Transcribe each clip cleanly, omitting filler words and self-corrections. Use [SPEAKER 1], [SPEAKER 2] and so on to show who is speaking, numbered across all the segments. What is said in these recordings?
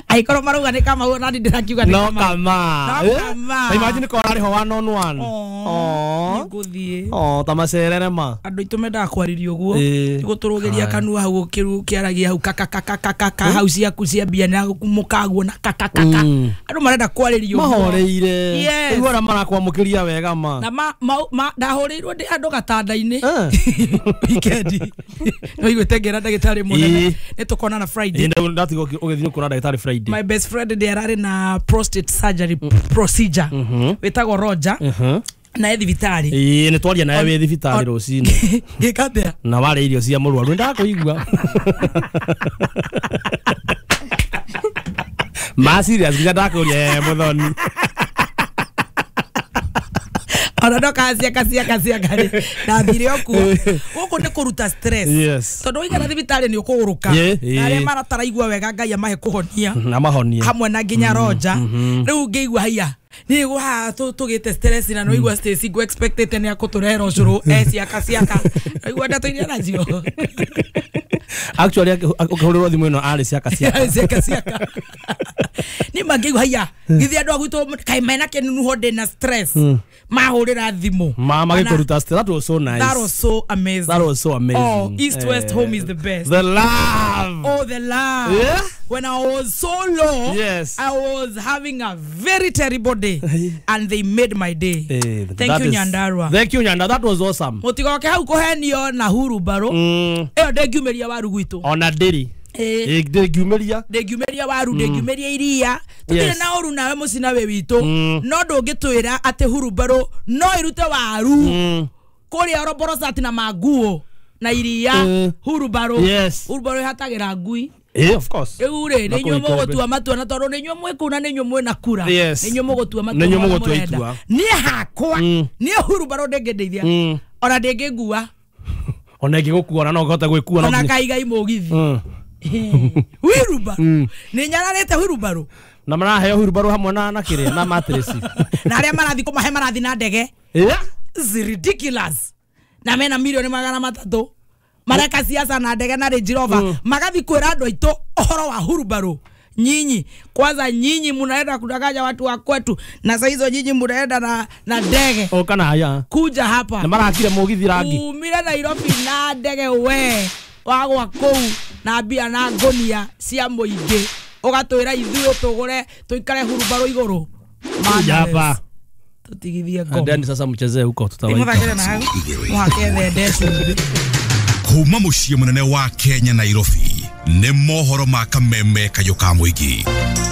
[SPEAKER 1] Aikorwo marauga nĩ Kamau na ndĩrakiuga nĩ
[SPEAKER 2] No
[SPEAKER 1] Kamau.
[SPEAKER 2] kama.
[SPEAKER 1] No kama.
[SPEAKER 2] Imagine ko arĩ ho one on one.
[SPEAKER 1] Oh. Nĩngũthiĩ.
[SPEAKER 2] Oh, ta macerere ma.
[SPEAKER 1] Andũ aitũ mendaga kwarĩrio ũguo.
[SPEAKER 2] Ĩĩ.
[SPEAKER 1] Gũtũrũgĩria kanua hau ũkĩaragia hau kakakakakaka hau ciaku cia mbia na mũkaguo na kakakaka. Andũ marenda kwarĩrio ũguo.
[SPEAKER 2] Mahoreire.
[SPEAKER 1] Yes.
[SPEAKER 2] Rĩu arĩa marakwamũkĩria wega ma.
[SPEAKER 1] Na ndahũrĩirwo ndĩ andũ gatanda-inĩ weekend. No iguĩte ngĩra ndagĩtarĩ mũnene. Nĩ tũkonana Friday.
[SPEAKER 2] Ĩĩ, ndatiga ũgĩthiĩ kuona ndagĩtarĩ Friday.
[SPEAKER 1] My best friend ndĩ ararĩ na prostate surgery procedure. Wĩtagwo Roger. Na e thibitarĩ.
[SPEAKER 2] Ĩĩ, nĩ twaria nawe wĩ thibitarĩ rũcinĩ.
[SPEAKER 1] Ngĩka atĩa?
[SPEAKER 2] Na warĩa irio cia mũrwaru nĩndakũigua. Ma serious nginya ndakũria mũthoni.
[SPEAKER 1] Ona ndoka ciaka ciaka ciaka rĩ ndathire o kuo. Gũkũ nĩ kũruta stress.
[SPEAKER 2] Yes.
[SPEAKER 1] Tondũ waikara thibitarĩ nĩ ũkũgũrũka. Na arĩa marataraigua wega Ngai amahe kũhonia.
[SPEAKER 2] Na mahonie.
[SPEAKER 1] Hamwe na nginya Roger. Rĩu ngĩigua haiya. Niĩ gũhaha tũgĩte stress na nĩwaigua Stacy ngũ expectĩte nĩ akũtũrehera ũcũrũ e ciaka ciaka. Waigua ndeto iria nacio.
[SPEAKER 2] Actually ũkĩhũrĩrwo thimũ ĩno arĩ ciaka ciaka.
[SPEAKER 1] Ciaka ciaka. Niĩ mangĩigua haiya. Githĩ andũ a gwitũ kaĩ mena kĩnunuho ndĩ na stress. Mahũrĩra thimũ.
[SPEAKER 2] Ma magĩkũruta stress. That was so nice.
[SPEAKER 1] That was so amazing.
[SPEAKER 2] That was so amazing.
[SPEAKER 1] Oh, East West home is the best.
[SPEAKER 2] The love.
[SPEAKER 1] Oh, the love.
[SPEAKER 2] Yeah.
[SPEAKER 1] When I was so low,
[SPEAKER 2] yes,
[SPEAKER 1] I was having a very terrible day, and they made my day. Thank you, Nyandarua.
[SPEAKER 2] Thank you, Nyandarua. That was awesome.
[SPEAKER 1] Mũtigoke hau kũhenio na hurumbarũ. Ĩyo ndĩngiumĩria waru gwitũ.
[SPEAKER 2] Ona ndĩrĩ. Ndĩngiumĩria.
[SPEAKER 1] Ndĩngiumĩria waru, ndĩngiumĩria iria. Tũtirĩ na ũru nawe mũcina wĩ witũ. No ndũngĩtwĩra atĩ hurumbarũ no ĩrute waru. Kũrĩa Oroborosati na manguo na iria. Hurumbarũ.
[SPEAKER 2] Yes.
[SPEAKER 1] Hurumbarũ ĩhatagĩra ngui.
[SPEAKER 2] Of course.
[SPEAKER 1] Rĩu rĩ nĩ inyuĩ mũgũtua matua na tondũ nĩ inyuĩ mwĩ kũu na nĩ inyuĩ mwĩna kura. Nĩ inyuĩ mũgũtua matua.
[SPEAKER 2] Nĩ inyuĩ mũgũtua itua.
[SPEAKER 1] Niĩ hakwa niĩ hurumbarũ ndĩngĩndeithia. Ona ndĩngĩngua.
[SPEAKER 2] Ona ĩngĩgũkua ona no ũhote gwĩkua.
[SPEAKER 1] Ona kaigai mũgithi. Hurumbarũ. Nĩ nyararĩte hurumbarũ.
[SPEAKER 2] Na maraheo hurumbarũ hamwe na kĩrĩa na matress.
[SPEAKER 1] Na arĩa marathi kũmahe marathi na ndege. It's ridiculous. Na mena milioni 300. Mareka siasa na ndege na Range Rover. Magathi kwĩra andũ aitũ ũhoro wa hurumbarũ. Nyinyi kwanza nyinyi mnaenda kudanganya watu wa kwetu na saa hizo nyinyi mnaenda na ndege.
[SPEAKER 2] O kana haya.
[SPEAKER 1] Kuja hapa.
[SPEAKER 2] Na marakire mũgithi rangi.
[SPEAKER 1] Umire Nairobi na ndege we. Wagwa kũu na mbia na ngonia cia mũingĩ. Ũgatwĩra ithuĩ tũgũre tũikare hurumbarũ igũrũ.
[SPEAKER 2] Hapa.
[SPEAKER 1] Tutigithie ngoma.
[SPEAKER 2] Then sasa mchezee huko tutawaita.
[SPEAKER 1] Mũthakĩre na hau. Mũhake thende cumbĩ.
[SPEAKER 3] Kuma mũciĩ mũnene wa Kenya Nairobi nĩ mohoro ma kameme kayũ ka mũingĩ.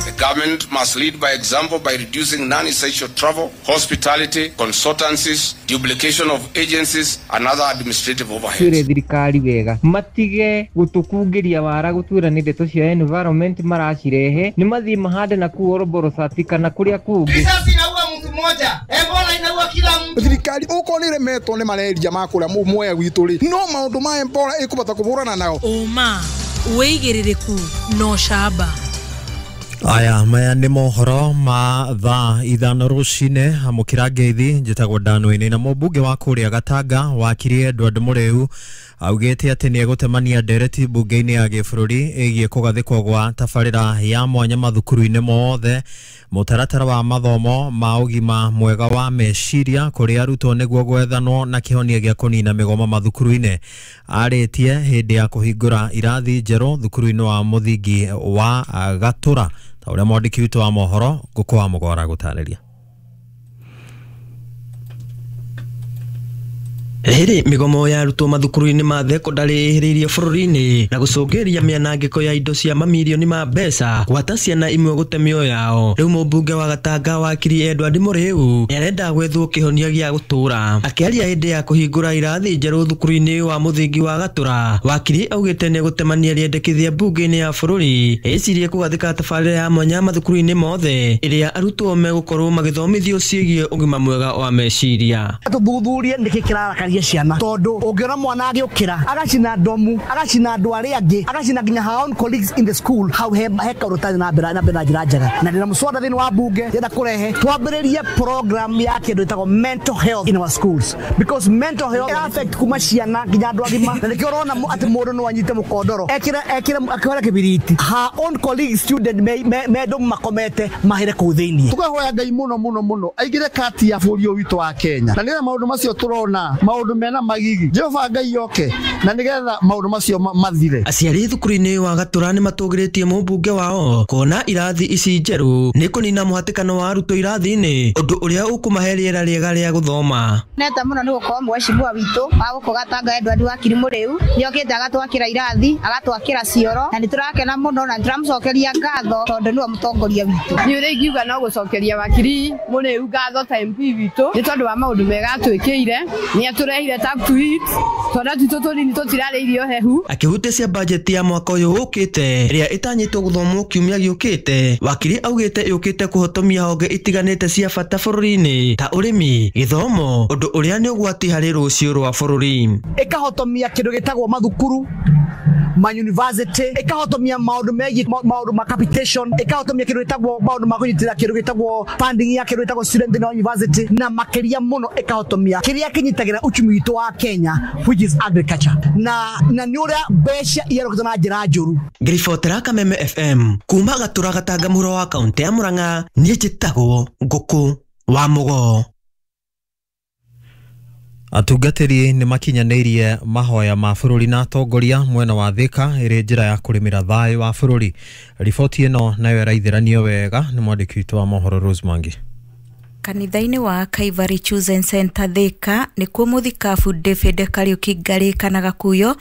[SPEAKER 4] The government must lead by example by reducing non-essential travel, hospitality, consultancies, duplication of agencies and other administrative overheads.
[SPEAKER 5] Twĩre thirikari wega matige gũtũkungĩria wara gũtwĩra nĩ ndeto cia environment maracirehe nĩ mathiĩ mahande na kũu Oroborosati kana kũrĩa kũngĩ.
[SPEAKER 6] Risasi inaua mtu mmoja, Ebola inaua kila mtu.
[SPEAKER 7] Thirikari ukorwo nĩ ĩremetwo nĩ mareria ma kũrĩa mwea gwitũ rĩ no maũndũ ma Ebola ĩkũbata kũhũrana nao.
[SPEAKER 8] Ũma wĩigĩrĩrĩku no camba.
[SPEAKER 9] Aya maya nĩ mohoro ma thaa 5 rũcinĩ amũkĩra ngeithi njĩtagwo Danwini na mũmbunge wa kũrĩa Gatanga wakiri Edward Mũrĩu augĩte atĩ nĩ egũtemania ndereti mbunge-inĩ ya gĩbũrũri ĩgiĩ kũgathĩkwo gwa tabarĩra ya mwanya mathukuru-inĩ mothe mũtaratara wa mathomo ma ũgima mwega wa meciria kũrĩ arutwo nĩguo gwethanwo na kĩhonia gĩa kũnina mĩgomo mathukuru-inĩ. Arĩtie hĩndĩ ya kũhingũra irathi njerũ thukuru-inĩ wa mũthingi wa Gatũra ta ũrĩa mwandĩki witũ wa mohoro Ngũkũ wa Mũgora gũtarĩria.
[SPEAKER 10] Rĩrĩ mĩgomo ya arutwo mathukuru-inĩ ma thekondarĩ ĩhĩrĩirie bũrũri-inĩ na gũcũngĩrĩria mĩanangĩko ya indo cia mamirioni ma mbeca gwata ciana imwe gũte mĩoyo yao. Rĩu mũmbunge wa Gatanga wakiri Edward Mũrĩu nĩarenda gwethwo kĩhonia gĩa gũtũra. Akĩaria hĩndĩ ya kũhingũra irathi njerũ thukuru-inĩ wa mũthingi wa Gatũra, wakiri augĩte nĩegũtemania rĩendekithia mbunge-inĩ ya bũrũri ĩcirie kũgathĩka tabarĩra ya mwanya mathukuru-inĩ mothe ĩrĩa arutwo megũkorwo magĩthomithio ciĩgiĩ ũgima mwega wa meciria.
[SPEAKER 6] Tũthuthurie nĩkĩ kĩrarakaria
[SPEAKER 11] tũteithie ciana tondũ ũngĩona mwana agĩũkĩra agacina ndomu agacina andũ arĩa angĩ agacina nginya her own colleagues in the school hau he kaũndũ tarĩ na mbere na njĩra njega na ndĩna mũswada thĩinĩ wa bunge ndĩrenda kũrehe twambĩrĩrie program ya kĩndũ ĩtagwo mental health in our schools because mental health affect kuma ciana nginya andũ agima na nĩkĩo ũrona atĩ mũndũ no anyite mũkondoro ekĩre akĩhũra kĩbiriti her own colleagues student me ndomu makomete mahĩre kũu thĩinĩ.
[SPEAKER 6] Tũkahoya Ngai mũno mũno mũno aigire kati ya bũrũri ũyũ witũ wa Kenya na nĩgetha maũndũ macio tũrona maũndũ mena magigi Jehova Ngai yoke na nĩgetha maũndũ macio mathire.
[SPEAKER 10] Aciari thukuru-inĩ wa Gatura nĩ matũgĩrĩtie mũmbunge wao kuona irathi ici njerũ nĩ kũnina mũhatĩkano wa arutwo irathi-inĩ ũndũ ũrĩa ũkũmahe rĩera rĩega rĩa gũthoma.
[SPEAKER 12] Neta mũno nĩ gũkorwo mheshimiwa witũ wa gũkũ Gatanga Edward Wakiri Mũrĩu nĩokĩte agatwakĩra irathi agatwakĩra cioro na nĩtũrakena mũno na nĩtũramũcokeria ngatho tondũ nĩwe mũtongoria witũ.
[SPEAKER 13] Niĩ ũrĩa ingiuga no gũcokeria Wakiri Mũrĩu ngatho ta MP witũ nĩ tondũ wa maũndũ mega atwĩkĩire nĩ atũrehire tap to eat twana twitũ tũnini tũtirarĩa irio hehu.
[SPEAKER 10] Akĩhutĩcia bajeti ya mwaka ũyũ ũkĩte ĩrĩa ĩtanyĩtwo gũthomwo kiumia gĩũkĩte, Wakiri augĩte yũkĩte kũhotomia honge itiganĩte cia bata bũrũri-inĩ ta ũrĩmi, gĩthomo, ũndũ ũrĩa nĩ ũgwati harĩ rũciũ rwa bũrũri.
[SPEAKER 11] Ĩkahotomia kĩndũ gĩtagwo mathukuru ma university ĩkahotomia maũndũ megiĩ maũndũ ma capitation ĩkahotomia kĩndũ gĩtagwo maũndũ ma kũnyitĩrĩra kĩndũ gĩtagwo funding ya kĩndũ gĩtagwo student in university na makĩria mũno ĩkahotomia kĩrĩa kĩnyitagĩra uchumi witũ wa Kenya which is agriculture na nĩ ũrĩa mbeca iyarũkĩtwo na njĩra njũru.
[SPEAKER 10] Ngĩribotera Kameme FM kuma Gatura Gatanga mũhuro wa kaũntĩ ya Murang'a, niĩ njĩtagwo Ngũkũ wa Mũgo.
[SPEAKER 9] Atungatĩri nĩ makinyanĩirie mahoya ma bũrũri na atongoria mwena wa Thika ĩrĩ njĩra ya kũrĩmĩra thayũ wa bũrũri. Riboti ĩno nayo ĩraithĩranio wega nĩ mwandĩki witũ wa mohoro Rose Mwangi.
[SPEAKER 14] Kanitha-inĩ wa Calvary Chosen Center Thika nĩkuo mũthikabu David Kariuki Ngarĩ kana Gakuyo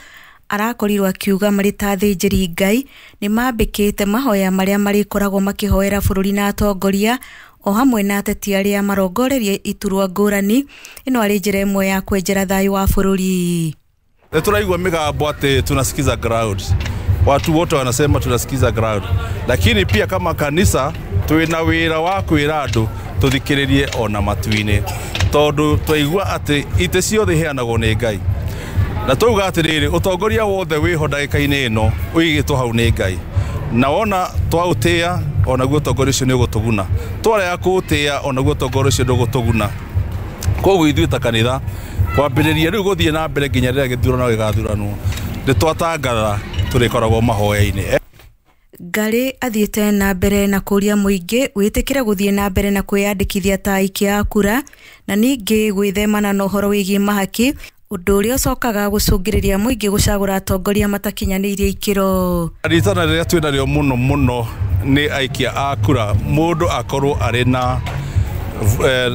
[SPEAKER 14] arakorirwo akiuga marĩ ta athĩnjĩri Ngai nĩ mambĩkĩte mahoya marĩa marĩkoragwo makĩhoera bũrũri na atongoria o hamwe na ateti arĩa marongorerie iturwa ngũrani. Ĩno arĩ njĩra ĩmwe ya kwenjera thayũ wa bũrũri.
[SPEAKER 15] Tũraigua mĩgambo atĩ tunasikiza ground, watu wote wanasema tunasikiza ground, lakini pia kama kanisa twina wĩra wa kwĩra andũ tũthikĩrĩrie ona matu-inĩ tondũ twaigua atĩ itĩ ciothe iheanagwo nĩ Ngai na twauga atĩrĩrĩ ũtongoria wothe wĩho ndagĩka-inĩ ĩno ũigĩtwo hau nĩ Ngai na wona twaũtĩa onaguo ũtongoria ũcio nĩ ũgũtũguna, twarega kũũtĩa onaguo ũtongoria ũcio ndũgũtũguna. Koguo ithuĩ ta kanitha kwambĩrĩria rĩu gũthiĩ na mbere nginya rĩrĩa gĩthurano gĩgathuranwo nĩ twatangatha tũrĩkoragwo mahoya-inĩ.
[SPEAKER 14] Ngarĩ athiĩte na mbere na kũria mũingĩ wĩtĩkĩre gũthiĩ na mbere na kwĩyandĩkithia ta aikia a kura na ningĩ gwĩthemana na ũhoro wĩgiĩ mahaki ũndũ ũrĩa ũcokaga gũcũngĩrĩria mũingĩ gũcagũra atongoria matakinyanĩirie ikĩro.
[SPEAKER 15] Ritana rĩrĩa twĩnarĩo mũno mũno nĩ aikia a kura mũndũ akorwo arĩ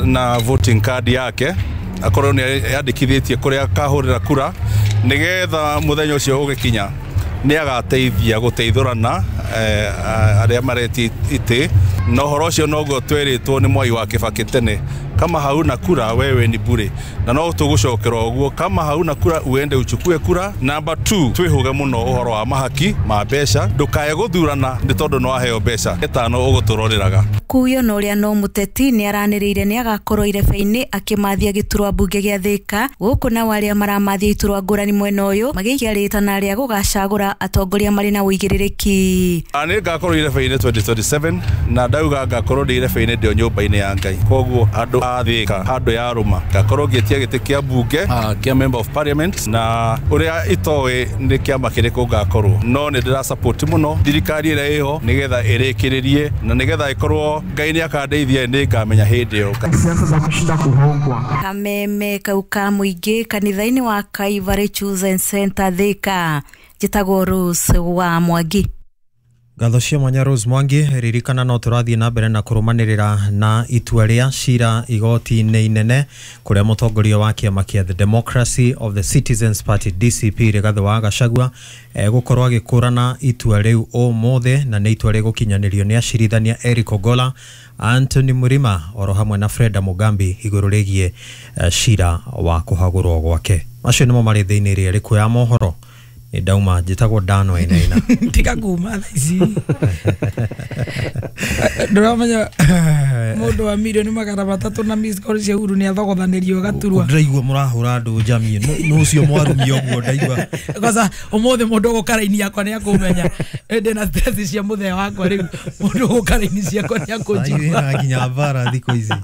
[SPEAKER 15] na voting card yake akorwo nĩ yandĩkithĩtie kũrĩa akahũrĩra kura nĩgetha mũthenya ũcio ũgĩkinya nĩ agateithia gũteithũrana arĩa maretia itĩ na ũhoro ũcio noguo twerĩtwo nĩ Mwai wa Kibaki tene, kama hauna kura wewe ni bure, na no tũgũcokera ũguo, kama hauna kura uende uchukue kura. Number 2 twĩhũge mũno ũhoro wa mahaki ma mbeca, ndũkae gũthurana nĩ tondũ no waheo mbeca ĩtano ũgũtũroreraga.
[SPEAKER 14] Kuyo na ũrĩa no mũteti nĩ aranĩrĩire nĩ agakorwo irebe-inĩ akĩmathia gĩturwa mbunge gĩa Thika gũkũ nao arĩa maramathia iturwa ngũrani mwena ũyũ magĩikia rĩtana rĩa gũgacagũra atongoria marĩ na ũigĩrĩrĩki.
[SPEAKER 15] Nĩ ngakorwo irebe-inĩ 2027 na ndauga ngakorwo ndĩ irebe-inĩ ndĩ o nyũmba-inĩ ya Ngai, koguo andũ a Thika handũ ya rũma ngakorwo ngĩtia gĩtĩ kĩa mbunge kĩa member of parliament na ũrĩa itoĩ nĩ kĩama kĩrĩkũ ngakorwo, no nĩ ndĩra support mũno thirikari ĩrĩa ĩho nĩgetha ĩrĩkĩrĩrie na nĩgetha ĩkorwo Ngai nĩ akandeithia nĩ ngamenya hĩndĩ ĩyo.
[SPEAKER 16] Siasa za kushinda kuhongwa.
[SPEAKER 14] Kameme kau ka mũingĩ kanitha-inĩ wa Calvary Chosen Center Thika, njĩtagwo Rose wa Mwangi.
[SPEAKER 9] Ngatho cia mwanya Rose Mwangi. Ririkana no tũrathiĩ na mbere na kũrũmanĩrĩra na itua rĩa cira igoti-inĩ inene kũrĩa mũtongoria wa kĩama kĩa The Democracy of the Citizens Party DCP Rigathĩ wa Gachagua egũkorwo agĩkũrana itua rĩu ũmũthĩ na nĩ itua rĩgũkinyanĩrio nĩ acirithania Eric Ogola, Anthony Murima oro hamwe na Freda Mugambi igũrũ rĩgiĩ cira wa kũhagũrwo gwake. Macio nĩmo marĩ thĩinĩ rĩa rĩkũ ya mohoro. Ndauma njĩtagwo Dano Wainaina.
[SPEAKER 1] Tiga kuma thaa ici. Ndũramenya Mundu wa milioni 300 na miss call cia Uhuru ni athogothanĩrio gaturwa.
[SPEAKER 9] Ndiraigua mũrahũra andũ njamie no ũcio mwarumia ũguo ndaigua.
[SPEAKER 1] Kwanza umuthi mundu gukara-ini yakwa ni akumenya ndina stress cia muthee wakwa riu mundu gukara-ini ciakwa ni akunjigua
[SPEAKER 9] nginya mbara thikũ ici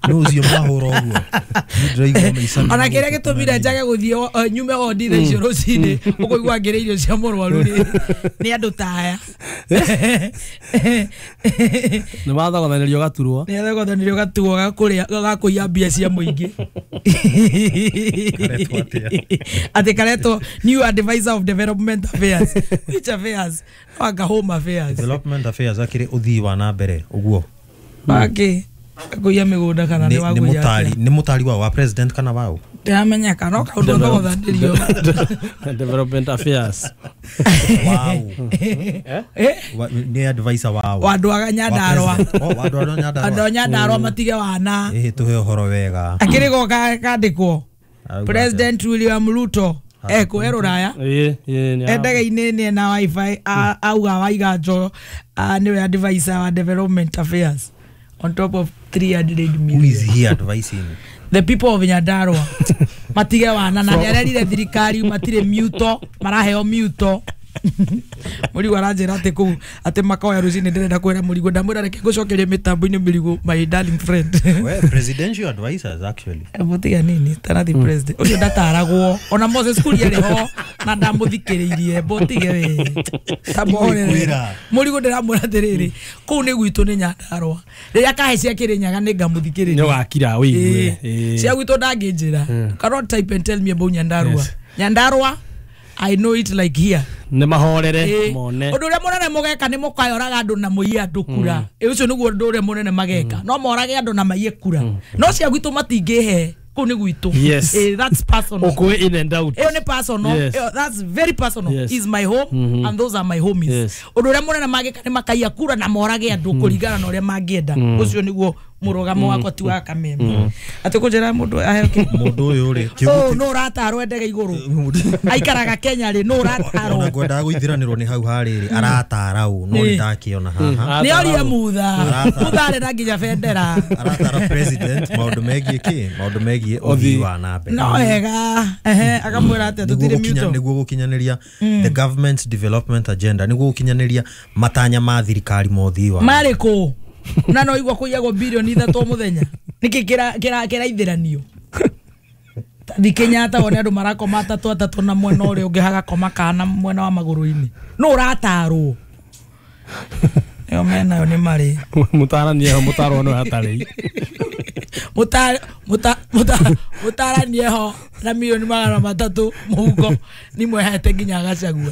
[SPEAKER 9] no ũcio mwahũra ũguo ndiraigua maica.
[SPEAKER 1] Ona kĩrĩa gĩtũmire njage gũthiĩ nyume wondi thaa icio rũcinĩ ũkũigua ngĩrĩa irio cia mũrwaru nĩ andũ ta aya.
[SPEAKER 2] Nĩ mathogothanĩrio gaturwa.
[SPEAKER 1] Nĩ athogothanĩrio gaturwa ga kũiya mbia cia mũingĩ. Atĩ karetwo new advisor of development affairs. Which affairs? Wanga home affairs.
[SPEAKER 9] Development affairs akĩrĩ ũthii wa na mbere ũguo.
[SPEAKER 1] Wake kũiya mĩgũnda kana nĩ wa kũiya.
[SPEAKER 9] Nĩ mũtari wa president kana wao?
[SPEAKER 1] Ndiramenya kana no kaũndũ athogothanĩrio.
[SPEAKER 2] Development affairs.
[SPEAKER 9] Wow. Nĩ advisor wao.
[SPEAKER 1] Wa andũ a Nyandarua.
[SPEAKER 9] Oh, andũ a Nyandarua.
[SPEAKER 1] Andũ a Nyandarua matige wana.
[SPEAKER 9] Ĩĩ tũhe ũhoro wega.
[SPEAKER 1] Akĩrĩ go kandĩkwo. President William Ruto ekũ rũraya. Endege-inĩ nĩ na wifi auga waiga njo nĩwe advisor wa development affairs on top of 300 million.
[SPEAKER 9] Who is he advising?
[SPEAKER 1] The people of Nyandarua matige wana na nĩarerire thirikari matirĩ miuto maraheo miuto. Mũrigo aranjĩra atĩ kũu atĩ makoya rũcinĩ ndĩrenda kwĩra Mũrigo ndamwĩra reke ngũcokerie mĩtambo-inĩ Mũrigo my darling friend.
[SPEAKER 9] Well, presidential advisors actually.
[SPEAKER 1] Mũtiga nini tana the president ũcio ndataragwo ona Moses Kuria arĩ ho na ndamũthikĩrĩirie mbotige we tamũhorere. Mũrigo ndĩramwĩra atĩrĩrĩ kũu nĩ gwitũ nĩ Nyandarua rĩrĩa kahe cia Kĩrĩnyaga nĩ ngamũthikĩrĩria.
[SPEAKER 2] Nĩ ũgakira wĩigue.
[SPEAKER 1] Cia gwitũ ndangĩnjĩra. Cannot type and tell me about Nyandarua. Nyandarua I know it like here.
[SPEAKER 2] Nĩ mahorere mone.
[SPEAKER 1] Ũndũ ũrĩa mũnene mũgeka nĩ mũkayoraga andũ na mũiye andũ kura. Ũcio nĩguo ũndũ ũrĩa mũnene mageka. No morage andũ na maiye kura. No cia gwitũ matingĩhe kũu nĩ gwitũ. That's personal.
[SPEAKER 2] Ũkũĩ in and out.
[SPEAKER 1] Ĩyo nĩ personal. That's very personal. Is my home and those are my homies. Ũndũ ũrĩa mũnene mageka nĩ makaiya kura na morage andũ kũringana na ũrĩa mangĩenda. Ũcio nĩguo mũrũgamo wakwa ti wa kameme. Atĩ kũnjĩra mũndũ aheo kĩ?
[SPEAKER 9] Mũndũ ũyũ rĩ
[SPEAKER 1] oh no ũratarwo ndege igũrũ. Aikaraga Kenya rĩ no ũratarwo.
[SPEAKER 9] Ona ngwendaga gũithiranĩrwo nĩ hau harĩ rĩ aratara ũ no nĩ ndakĩona haha.
[SPEAKER 1] Nĩ orie Mutha. Mutha arĩ na nginya bendera.
[SPEAKER 9] Aratara president maũndũ megiĩ kĩ? Maũndũ megiĩ ũthii wa na mbere.
[SPEAKER 1] No wega. Akamwĩra atĩa tũtirĩ miuto.
[SPEAKER 9] Nĩguo gũkinyanĩria the government's development agenda nĩguo gũkinyanĩria matanya ma thirikari ma ũthii wa.
[SPEAKER 1] Marĩ kũ? Na no igua kũiyagwo bilioni 3 mũthenya nĩkĩ kĩraithiranio thi Kenyatta wone andũ marakoma atatũ atatũ na mwena ũrĩa ũngĩ hagakoma kana mwena wa magũrũ-inĩ no ũratarwo ĩyo menayo nĩ marĩ
[SPEAKER 2] mũtaranie ho mũtarwo no hatarĩ
[SPEAKER 1] mũtaranie ho na milioni 300 mũhuko nĩ mwehete nginya Gachagua.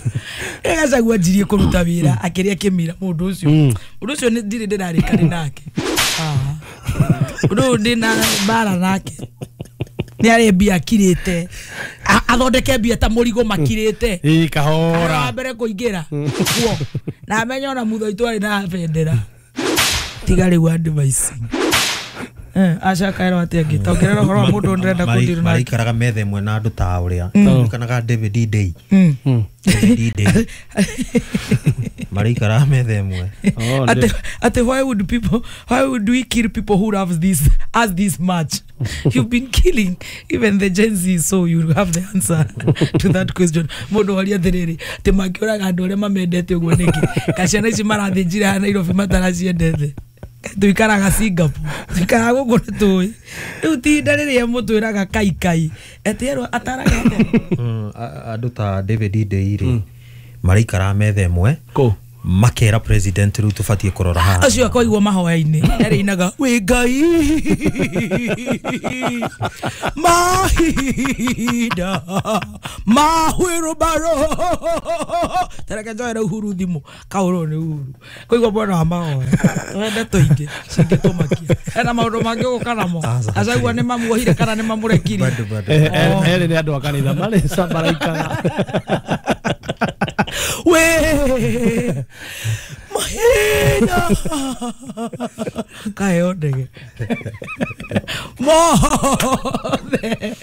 [SPEAKER 1] Gachagua njirie kũruta wĩra akĩrĩa kĩmira mũndũ ũcio. Mũndũ ũcio nĩ ndirĩ ndĩrarĩkani nake. Mũndũ ũyũ ndĩna mbara nake. Nĩ arĩ mbia akirĩte. Athondeke mbia ta Mũrigo makirĩte.
[SPEAKER 2] Ĩ kahora.
[SPEAKER 1] Wa mbere kũingĩra kuo. Na amenye ona Mutha witũ arĩ na bendera. Tiga rĩu advising. Aca kaerwo atĩa angĩ tongerera ũhoro wa mũndũ ndĩrenda kũndirwo nake.
[SPEAKER 9] Maraikaraga metha ĩmwe na andũ ta ũrĩa kanaga David Day. David Day maraikaraga metha ĩmwe.
[SPEAKER 1] Ate why would we kill people who love this us this much? You've been killing even the Gen Z, so you have the answer to that question. Mũndũ waria atĩrĩrĩ atĩ mangĩũraga andũ arĩa mamendete ũguo nĩkĩ? Kaciana ici marathĩnjire Nairobi mataraciendete. Tuikaraga Singapore tuikaraga gũkũ nĩ tũĩ rĩu ti ihinda rĩrĩa mũtwĩraga kai kai etĩerwo ataraga
[SPEAKER 9] andũ ta David Day rĩ maraikaraga metha ĩmwe makera president rĩu tũbatiĩ kũrora haha.
[SPEAKER 1] Ũcio akoigwo mahoya-inĩ arĩinaga wĩ Ngai mahinda mahwĩrũbaro tareke njoere Uhuru thimũ kaũrwo nĩ Uhuru koigwo mwena wa mahoya twende tũingĩ cingĩtũmakia ena maũndũ mangĩ ũgũka namo Gachagua nĩ mamuohire kana nĩ mamũrekirie.
[SPEAKER 2] Erĩ nĩ andũ a kanitha marĩ maraikara
[SPEAKER 1] we mahinda kaheo ndege mothe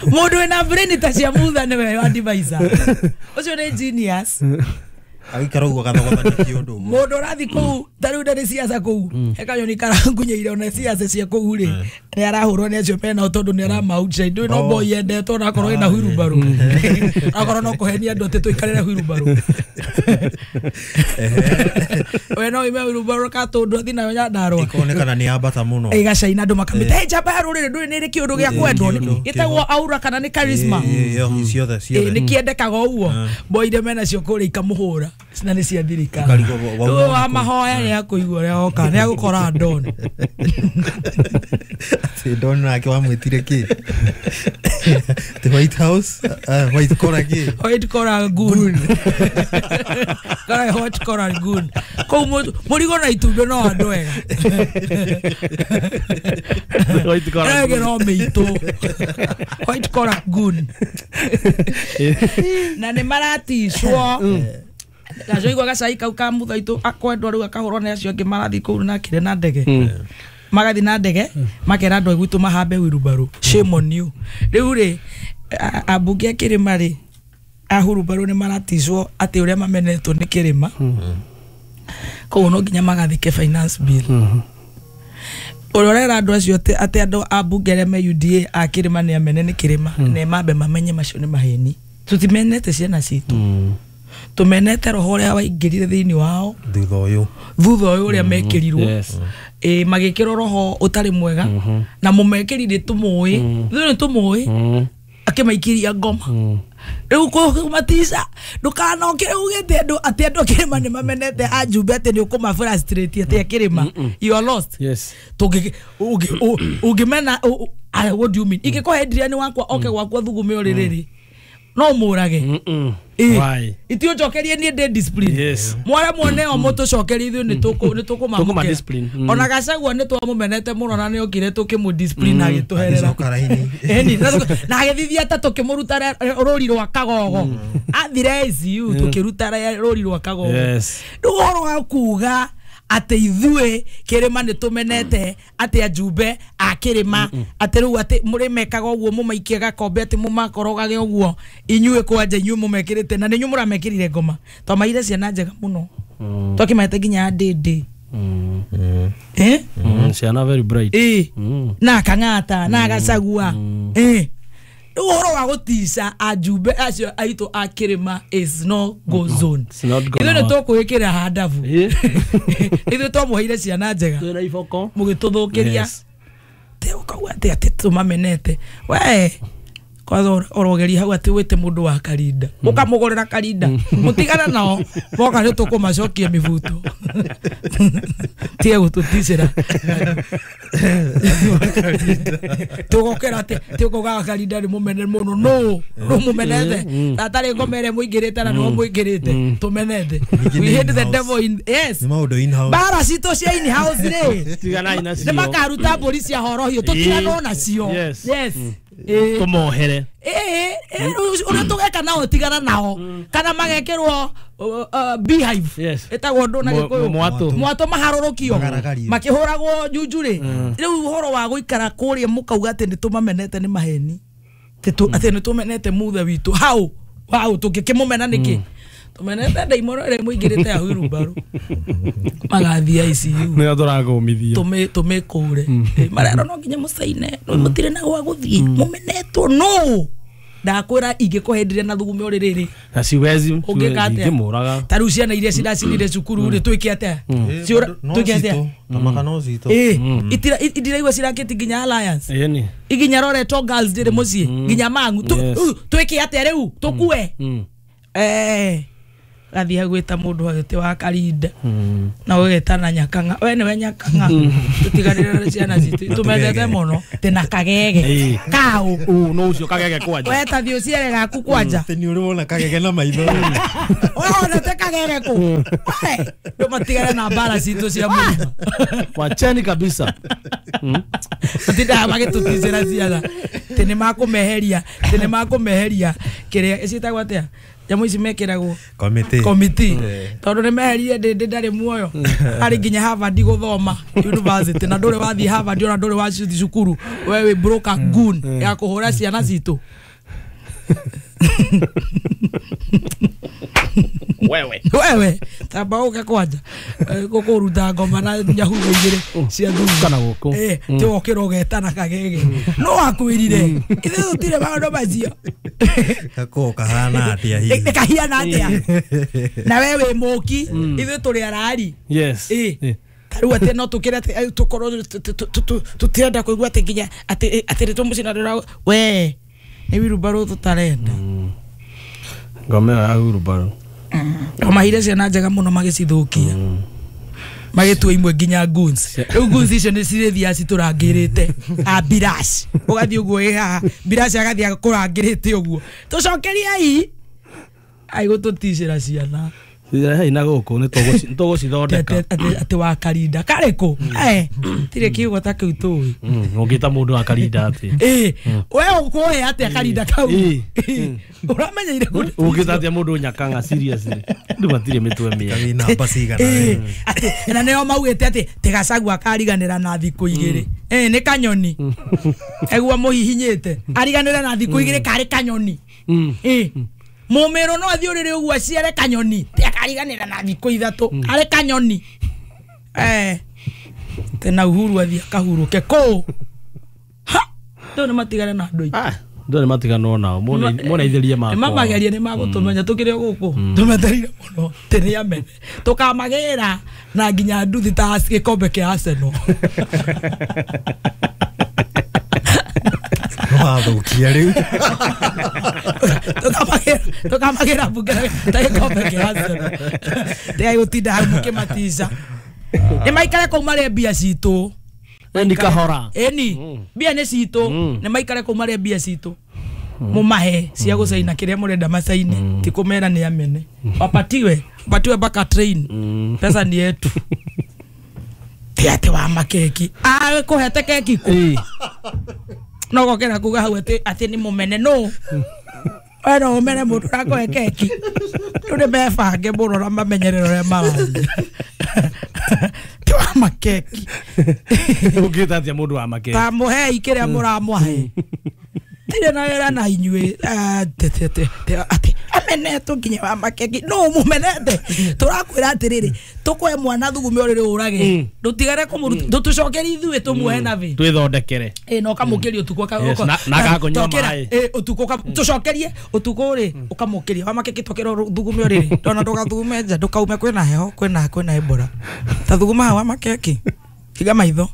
[SPEAKER 1] Mundu wina brain ta cia Mutha niwe advisor. Ucio ni genius.
[SPEAKER 9] Agikara uguo gathogothania kĩũndũ.
[SPEAKER 1] Mũndũ ũrathiĩ kũu ta rĩu ndarĩ ciaca kũu hekanyoni karangunyeire ona ciaca cia kũu rĩ nĩ arahũrwo nĩ acio menao tondũ nĩ aramautshine ndũĩ no boy yendetwo onakorwo ĩna huirubarũ akorwo no kũhenia andũ atĩ tũikarĩre huirubarũ we no ime huirubarũ katũndũ athi nayo Nyandarũa
[SPEAKER 9] ikonekana nĩ yambata mũno
[SPEAKER 1] ĩgacaina andũ makamĩta njamba ya rũrĩrĩ ndũĩ nĩ ĩrĩ kĩũndũ gĩa kwendwo gĩtagwo aura kana nĩ charisma
[SPEAKER 9] ciothe ciothe
[SPEAKER 1] nĩ kĩendekaga ũguo boire menacio kũrĩa ikamũhũra na nĩ cia thirikari wa mahoya nĩ akũigua ũrĩa oka nĩ agũkora Don
[SPEAKER 9] atĩ Don nake wamwĩtire kĩ the White House white collar kĩ
[SPEAKER 1] white collar goon kara white collar goon kũu mũrigo na itumbĩ no andũ ega
[SPEAKER 2] white collar
[SPEAKER 1] goon no mĩitũ white collar goon na nĩ maraticwo gacoigua gacai kau ka muthaitũ akwendwo rĩu akahũrwo nĩ acio angĩ marathiĩ kũu nakire na ndege magathi na ndege makera andũ gwitũ mahambe huirubarũ shame on you rĩu rĩ ambunge a kĩrĩma rĩ a huirubarũ nĩ maraticwo atĩ ũrĩa mamenetwo nĩ kĩrĩma koguo no nginya magathike finance bill ũrĩa ũrera andũ acio atĩ andũ ambunge arĩa me UDA a kĩrĩma nĩ amene nĩ kĩrĩma nĩ mambe mamenye macio nĩ maheni tũtimenete ciana citũ tumenete roho ũrĩa waingĩrire thĩinĩ wao
[SPEAKER 9] thutha
[SPEAKER 1] ũyũ ũrĩa mekĩrirwo magĩkĩrwo roho ũtarĩ mwega na mũmekĩrire tũmũĩ ithuĩ nĩ tũmũĩ akĩmaikĩria ngoma rĩu kũmatica ndũkanokĩre ugĩte andũ atĩ andũ a kĩrĩma nĩ mamenete anjumbe atĩ nĩ ũkũma frustrate atĩ a kĩrĩma you are lost ũngĩmena what do you mean ingĩkũhe Adrian wakwa oke gwakwa thugume ũrĩrĩ no mũrage itiũnjokerie niĩ ndĩ discipline mware mwone o mũtũcokerie ithuĩ nĩ tũkũmamũkĩra ona Gachagua nĩ twamũmenete mũno na nĩ okire tũkĩmũ discipline agĩtũherera na agĩthithia ta tũkĩmũruta rũri rwa kagogo athire ICU tũkĩruta rũri rwa kagogo rĩu ũhoro wa kuga atĩ ithuĩ kĩrĩma nĩ tũmenete atĩ anjumbe a kĩrĩma atĩ rĩu atĩ mũrĩmekaga ũguo mũmaikie gakombe atĩ mũmakorogage ũguo inyuĩ kwanja inyuĩ mũmekĩrĩte na nĩ inyuĩ mũramekĩrire ngoma twamaire ciana njega mũno twakĩmaete nginya ndĩndĩ
[SPEAKER 2] ciana very bright
[SPEAKER 1] na Kang'ata na Gachagua rĩu ũhoro wa gũtica anjumbe acio aitũ a kĩrĩma is no go zone ithuĩ nĩ tũkwĩkĩra handabu ithuĩ twamũheire ciana njega mũgĩtũthũkĩria ũkauga atĩ atĩ tũmamenete we kwanza ũrogeria hau atĩ wĩte mũndũ wa karinda ũkamũgũrĩra karinda mũtigana nao moka nĩ tũkũmacokia mĩbuto tige gũtũticĩra tũgokĩra atĩ tũkaugaga karinda nĩ mũmene mũno nũ nũ mũmenete atarĩ ngoma ĩrĩa mũingĩrĩte na nĩho mũingĩrĩte tũmenete we hate the devil in yes mbara citũ cia in house rĩ nĩ makaruta mbũri cia horohio tũtiganwo nacio yes
[SPEAKER 2] tũmohere
[SPEAKER 1] ũrĩa tũgeka nao tigana nao kana magekĩrwo beehive ĩtagwo ndũ na gĩkũyũ mwatũ maharũrũkio makĩhũragwo njunjurĩ rĩu ũhoro wa gũikara kũrĩa mũkauga atĩ nĩ tũmamenete nĩ maheni atĩ nĩ tũmenete muthe witũ hau hau tũngĩkĩmũmena nĩkĩ tũmenete ndaimono ĩrĩa mũingĩrĩte ya huirubarũ magathiĩ ICU
[SPEAKER 2] nĩyo tũrakũmithia
[SPEAKER 1] tũmĩkũre marerwo no nginya mũcaine mũtirĩ na gwa gũthiĩ mũmenetwo nũ ndakwĩra ingĩkũhendire na thugume ũrĩrĩ
[SPEAKER 2] na siwezi
[SPEAKER 1] ũngĩka atĩa ta rĩu ciana iria ciracinire cukuru rĩ twĩke atĩa twĩke atĩa
[SPEAKER 9] tamaka no citũ
[SPEAKER 1] indiraigua cirakĩti nginya Alliance iginya Loreto Girls ndĩrĩ mũciĩ nginya Mang'u twĩke atĩa rĩu tũkue gathiĩ gwĩta mũndũ agĩte wa karinda na ũgetana Nyakang'a we nĩwe Nyakang'a tũtiganĩre ciana citũ tũmendete mũno tĩ na kagege kau
[SPEAKER 2] no ũcio kagege kwanja
[SPEAKER 1] we ta thiĩ ũciere gaku kwanja
[SPEAKER 9] nĩ ũrĩ wona kagege na maitho
[SPEAKER 1] we wonete kagege kũ we ndũmatigane na mbara citũ cia mũrĩma
[SPEAKER 2] wacheni kabisa
[SPEAKER 1] matindaga magĩtũticĩra ciana tĩ nĩ makũmeheria tĩ nĩ makũmeheria kĩrĩa ciĩtagwo atĩa nyamũ ici mekĩragwo komiti tondũ nĩ meherire ndĩndĩ ndarĩ muoyo arĩ nginya Harvard gũthoma university na ndũrĩ wathiĩ Harvard ona ndũrĩ wathiĩ cukuru we wĩ broker goon ya kũhũra ciana citũ.
[SPEAKER 2] Wewe.
[SPEAKER 1] Wewe tamba uke kwanja gukuruta ngoma na nyahugo igiri cia thumu
[SPEAKER 2] kana guku
[SPEAKER 1] ti wokira ugetana kagege no akwirire ithe tutire maundu macio
[SPEAKER 9] gako kahana atia hihi
[SPEAKER 1] kahiana atia na we wi muki ithe turi arari.
[SPEAKER 2] Yes.
[SPEAKER 1] Tarĩu atĩ no tũkĩre atĩ tũkorwo tũtirenda kũigua atĩ nginya atĩ atĩ tũmũcina ndũra we nĩ wirumbarũ tũtarenda.
[SPEAKER 2] Ngoma ya wirumbarũ
[SPEAKER 1] mahire ciana njega mũno magĩcithũkia magĩtua imwe nginya goons. Rĩu goons icio nĩ cirĩthiaga citũrangĩrĩte a birash ũgathiĩ ũguo ĩ haha birash agathiĩ akũrangĩrĩte ũguo tũcokeriei aigũtũticĩra ciana
[SPEAKER 2] hei na gũkũ nĩ tũgũcithondeka
[SPEAKER 1] atĩ wa karinda karĩkũ tirĩ kiugo ta kĩu tũĩ
[SPEAKER 2] ũngĩta mũndũ wa karinda atĩ
[SPEAKER 1] we ũkũhe atĩa karinda kau ũramenyeire
[SPEAKER 2] ũngĩta atĩa mũndũ nyakanga seriously andũ matirĩ mĩtwe mĩega
[SPEAKER 9] namba cigana
[SPEAKER 1] na nĩo maugĩte atĩ tigacagua kariganĩra na thikũ igĩrĩ nĩ kanyoni eguo mũhihinyĩte ariganĩre na thikũ igĩrĩ karĩ kanyoni mumero no athi urire uguo aciare kanyoni ti akariganira na thikũ ithatũ arĩ kanyoni tena Uhuru athi akahuruke kũ ha ndũ nĩ matigane na andũ aitũ
[SPEAKER 2] ndũ nĩ matiganwo nao mona itherie makwa
[SPEAKER 1] nĩ mamagerie nĩ magũtũmenya tũkĩrĩ o gũkũ tũmetereire mũno tĩ nĩ amene tũkamagĩra na nginya nduthi ta gĩkombe kĩa Arsenal
[SPEAKER 9] wathukia riu
[SPEAKER 1] tukamagira bunge ta gĩkombe kĩa Arsenal tigai hau mũkĩmatica nĩ maikare kũu marĩe mbia citũ
[SPEAKER 2] eni kahora
[SPEAKER 1] eni mbia nĩ citũ nĩ maikare kũu marĩe mbia citũ mumahe cia gũcaina kĩrĩa mũrenda macaine ti kũmera nĩ amene wapatiwe wapatiwe mpaka train pesa ni yetu ti atĩ wa makeki kũhete keki kũ no gokera kuga hau atĩ nĩ mũmene no we no ũmene mũndũ ũrakũhe keki rĩu nĩ mebange mũno na mamenyerere ũrĩa marathiĩ ti wa makeki
[SPEAKER 2] ũngĩta atĩa mũndũ wa makeki
[SPEAKER 1] ta mũhei kĩrĩa mũramũhe tirĩ na wĩra na inyuĩ atĩ amenetwo nginya wa makeki no mũmenete tũrakwĩra atĩrĩrĩ tũkũhe mwana thugume ũrĩrĩ ũrage ndũtigare kũmũruta ndũtũcokerie ithuĩ tũmuohe nabĩ
[SPEAKER 2] twĩthondekere
[SPEAKER 1] na ũkamũkĩria ũtukũ
[SPEAKER 2] na agakũnyua maĩ
[SPEAKER 1] ũtukũ tũcokerie ũtukũ rĩ ũkamũkĩria wa makeki tũkĩra thugume ũrĩrĩ ndona ndũgathugume nja ndũkaume kwĩna heho kwĩna Ebola ta thuguma hau wa makeki higa maitho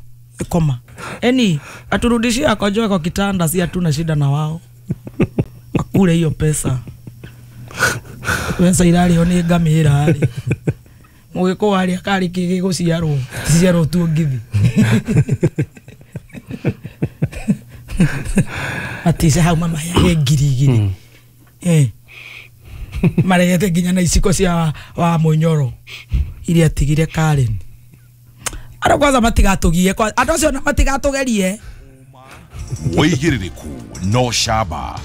[SPEAKER 1] koma eni aturudishie akojoe kwa kitanda, si hatuna shida na wao akule hiyo pesa pesa irarĩo nĩ ngamĩra rĩ mũgĩkũyũ arĩa karĩ kĩ gĩgũciarwo ciarwo tu ngithi atice hau mamaheage 2,000 maregete nginya na iciko cia wa mũnyoro iria atigire Karen. Andũ kwanza matigatũgie andũ acio matigatũgerie
[SPEAKER 3] wĩigĩrĩrĩku no camba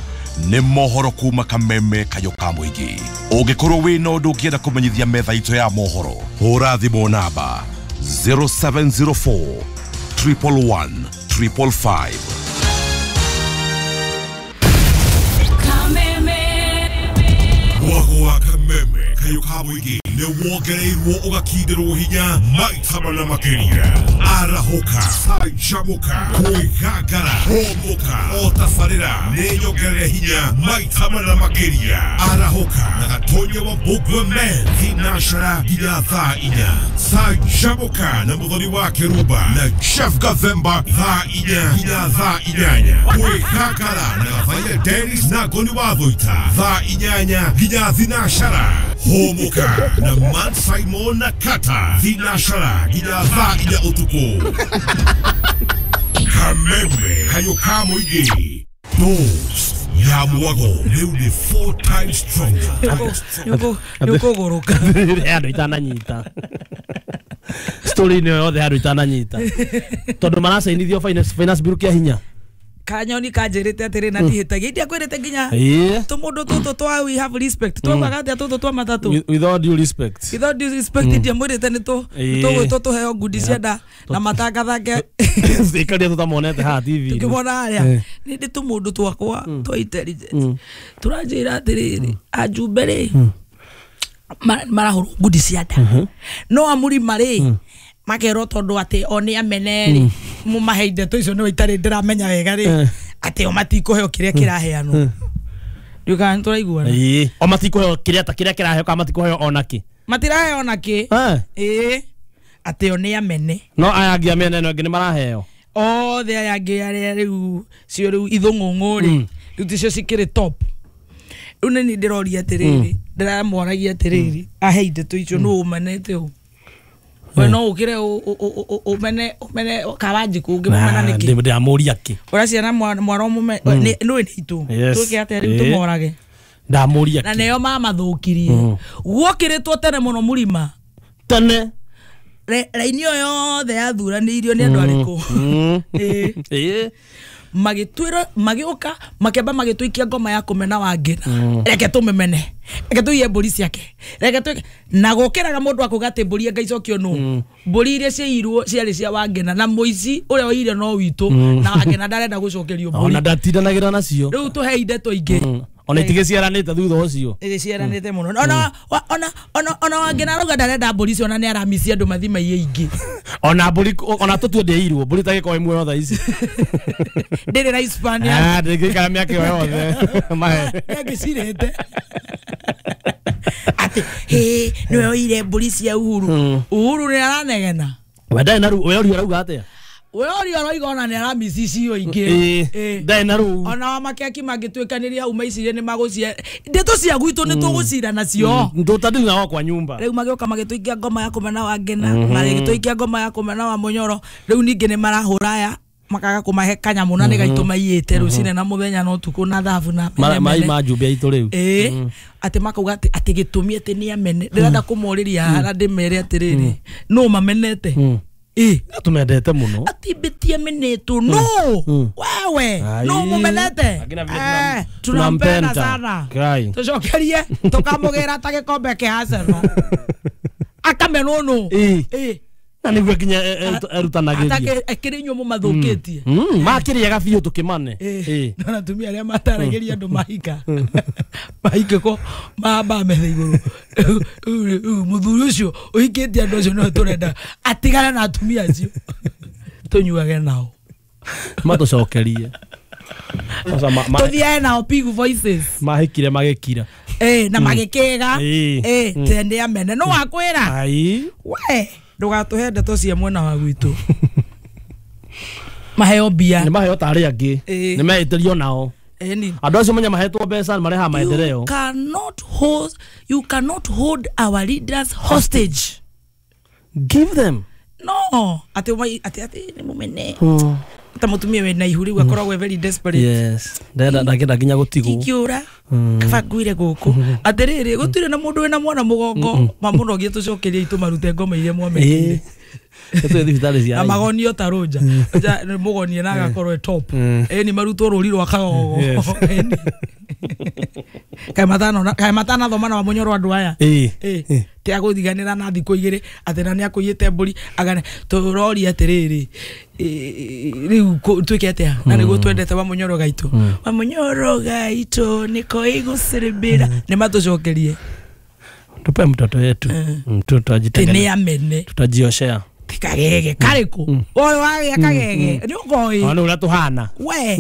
[SPEAKER 3] nĩ mohoro kuma kameme kayo ka mũingĩ ũngĩkorwo wĩna ũndũ ũngĩenda kũmenyithia metha itũ ya mohoro hũra thimũ namba 0704 111 555. Mwago wa kameme kayo ka mũingĩ nĩ wongereirwo ũgakindĩrwo hinya maita mana makĩria arahũka canjamũka kwĩgangara hũmũka o tabarĩra nĩ nyongerere hinya maita mana makĩria arahũka na gatonya wa Mbugua Man thinashara nginya thaa inya canjamũka na mũthoni wa Kĩrumba na Chef Gathemba thaa inya nginya thaa inyanya kwĩgangara na Gathaia Dennis na Ngoni wa Thũita thaa inyanya nginya thinashara hũmũka na Matt Simon na Kata thinashara nginya thaa inya ũtukũ kameme kayo ka mũingĩ Dose ya mwago rĩu nĩ 4 times stronger
[SPEAKER 1] nĩũkũgũrũka
[SPEAKER 2] andũ itananyita story ĩno yothe andũ itananyita tondũ maracainithio finance bill kĩa hinya
[SPEAKER 1] kanyoni kanjĩrĩte atĩrĩ na ndihĩtagia indiakwĩrĩte nginya tũmũndũ tũtũ twa we have respect twaugaga atĩa tũtũ twa matatũ
[SPEAKER 2] with all due respect
[SPEAKER 1] with all due respect ndiamwĩrĩte nĩ tũgwĩtwo tũheo ngundi cia nda na matangathange
[SPEAKER 2] ikaria tũtamonete haha TV
[SPEAKER 1] tũkĩmona harĩa nĩ ndĩ tũmũndũ twakwa twa intelligence tũranjĩra atĩrĩrĩ ajumbe rĩ Marahũrwo ngundi cia nda. No amũrima rĩ makerwo tondũ atĩ o nĩ amene rĩ mũmahe ndeto icio nĩwe itarĩ ndĩramenya wega rĩ atĩ o matikũheo kĩrĩa kĩraheanwo. Ndiũĩ kana nĩtũraiguana.
[SPEAKER 2] Ĩĩ o matikũheo kĩrĩa ta kĩrĩa kĩraheo kana matikũheo ona kĩ.
[SPEAKER 1] Matiraheo ona kĩ. Ĩĩ atĩ o nĩ amene.
[SPEAKER 2] No aya angĩ amene no angĩ nĩ maraheo.
[SPEAKER 1] Othe aya angĩ arĩa rĩu cio rĩu ithũng'ũng'ũ rĩ rĩu ticio cikĩrĩ top. Rĩu nĩ niĩ ndĩroria atĩrĩrĩ ndĩramwaragia atĩrĩrĩ ahe ndeto icio nũ ũmenete ũ. We no ũkĩre ũmene ũmene Kawanjikũ ũngĩmũmena nĩkĩ?
[SPEAKER 2] Ndĩramũria kĩ.
[SPEAKER 1] Ũraciana mwara ũmũme nĩ nĩ itũ. Twĩke atĩa rĩu tũmorage.
[SPEAKER 2] Ndamũria kĩ.
[SPEAKER 1] Na nĩo mamathũkirie. Guokĩrĩtwo tene mũno mũrima.
[SPEAKER 2] Tene.
[SPEAKER 1] Raini ĩyo yothe yathuranĩirio nĩ andũ arĩkũ? Ĩĩ. Magĩtwĩra magĩũka makĩamba magĩtũikia ngoma ya kũmena Wangĩra. Reke tũmĩmene. Reke tũiye mbũri ciake. Reke twĩke na gũkĩraga mũndũ akauga atĩ mbũri anga icokio nũ. Mbũri iria ciaiyirwo ciarĩ cia Wangĩna na mũici ũrĩa oire no witũ na Wangĩna ndarenda gũcokerio mbũri.
[SPEAKER 2] Ona ndatindanagĩra nacio.
[SPEAKER 1] Rĩu tũhei ndeto ingĩ.
[SPEAKER 2] Ona itigĩciaranĩte thutha ũcio.
[SPEAKER 1] Ĩgĩciaranĩte mũno. Ona ona ona ona Wangĩna arauga ndarenda mbũri icio ona nĩ aramicia andũ mathi maiye ingĩ.
[SPEAKER 2] Ona mbũri ona tũtue ndĩirwo mbũri tagĩkorwo ĩ muoyo thaa ici.
[SPEAKER 1] Ndĩrĩ na Hispania.
[SPEAKER 2] Ndĩngĩikara mĩaka ĩyo yothe. Mahe.
[SPEAKER 1] Nĩangĩcirĩte. Atĩ hĩ nĩwe oire mbũri cia Uhuru. Uhuru nĩ aranegena.
[SPEAKER 2] We ndarĩ na rũu we ũria arauga atĩa?
[SPEAKER 1] We ũria aroiga ona nĩ aramici icio ingĩ.
[SPEAKER 2] Ndarĩ na rũu.
[SPEAKER 1] Ona wa makeki mangĩtuĩkanĩria hau maicirie nĩ magũcie. Ndeto cia gwitũ nĩ tũgũcira nacio.
[SPEAKER 2] Tũtadili nao kwa nyumba.
[SPEAKER 1] Rĩu magĩũka magĩtũikia ngoma ya kũmena Wangĩna, magĩtũikia ngoma ya kũmena wa Mũnyoro. Rĩu ningĩ nĩ marahũra aya makaga kũmahe kanyamũ na nĩ gaitũ maiyĩte rũcinĩ na mũthenya na ũtukũ na thabu na
[SPEAKER 2] mai ma njumbe aitũ rĩu.
[SPEAKER 1] Ĩĩ atĩ makauga atĩ atĩ gĩtũmi atĩ nĩ amene. Ndĩrenda kũmorĩria haha na ndĩmere atĩrĩrĩ nũ mamenete. Ĩĩ
[SPEAKER 2] tumendete mũno.
[SPEAKER 1] Ati mbitie menetwo no wewe no mumenete. Tunampenda sana. Tucokerie tukamũgĩra ta gĩkombe kĩa Arsenal. Akamenwo nũ.
[SPEAKER 2] Ĩĩ na nĩguo nginya erutanagĩria.
[SPEAKER 1] Akĩrĩ inyuĩ mũmathũkĩtie.
[SPEAKER 2] Makĩrĩaga biũ tũkĩmane.
[SPEAKER 1] Ĩĩ na atumia arĩa mataragĩria andũ mahika. Mahika ko mamba metha igũrũ. Mũthuri ũcio ũhikĩtie andũ acio nĩwe tũrenda atigane na atumia acio. Tũnyuage nao.
[SPEAKER 2] Matũcokerie.
[SPEAKER 1] Tũthiage nao Pig Voices.
[SPEAKER 2] Mahikire magĩkira.
[SPEAKER 1] Na magĩkĩga. Tende amene. No wakwĩra. We ndũgatũhe ndeto cia mwena wa gwitũ. Maheo mbia.
[SPEAKER 2] Nĩ maheo ta arĩa angĩ. Nĩ meĩtĩrio nao. Andũ acio menya mahetwo mbeca marehaga maendeleo.
[SPEAKER 1] You cannot hold our leaders hostage.
[SPEAKER 2] Give them.
[SPEAKER 1] No, atĩ atĩ atĩ nĩ mũmene. Ta mũtumia wĩna ihu rĩu akoragwo very desperate.
[SPEAKER 2] Yes. Ndenda nginya gũtigwo.
[SPEAKER 1] Ingĩũra kaba nguire gũkũ. Atĩrĩrĩ gũtirĩ na mũndũ wĩna mwana mũgongo mamũnogie tũcokerie itũ marute ngoma iria mwamekire.
[SPEAKER 2] Tũthiĩ thibitarĩ cia
[SPEAKER 1] na magonio ta rũnja. Mũgonie na agakorwo e top. Ĩni marutwo rũri rwa kagogo. Kaĩ matanathoma na wa Mũnyoro andũ aya. Ĩĩ ti agũthiganĩra na thikũ igĩrĩ atĩ na nĩakũiyĩte mbũri agane tũroria atĩrĩrĩ rĩu twĩke atĩa na nĩguo twendete wa Mũnyoro gaitũ. Wa Mũnyoro gaitũ nĩko ĩgũcĩrĩmbĩra nĩ matũcokerie.
[SPEAKER 2] Tupe mtoto wetu.
[SPEAKER 1] Tutajitengeneza. Nĩ amene.
[SPEAKER 2] Tutajioshea.
[SPEAKER 1] Kagege karĩkũ? Ũyũ wagĩa kagege nĩ ũkoĩ.
[SPEAKER 2] Ona ũrĩa tũhana.
[SPEAKER 1] We.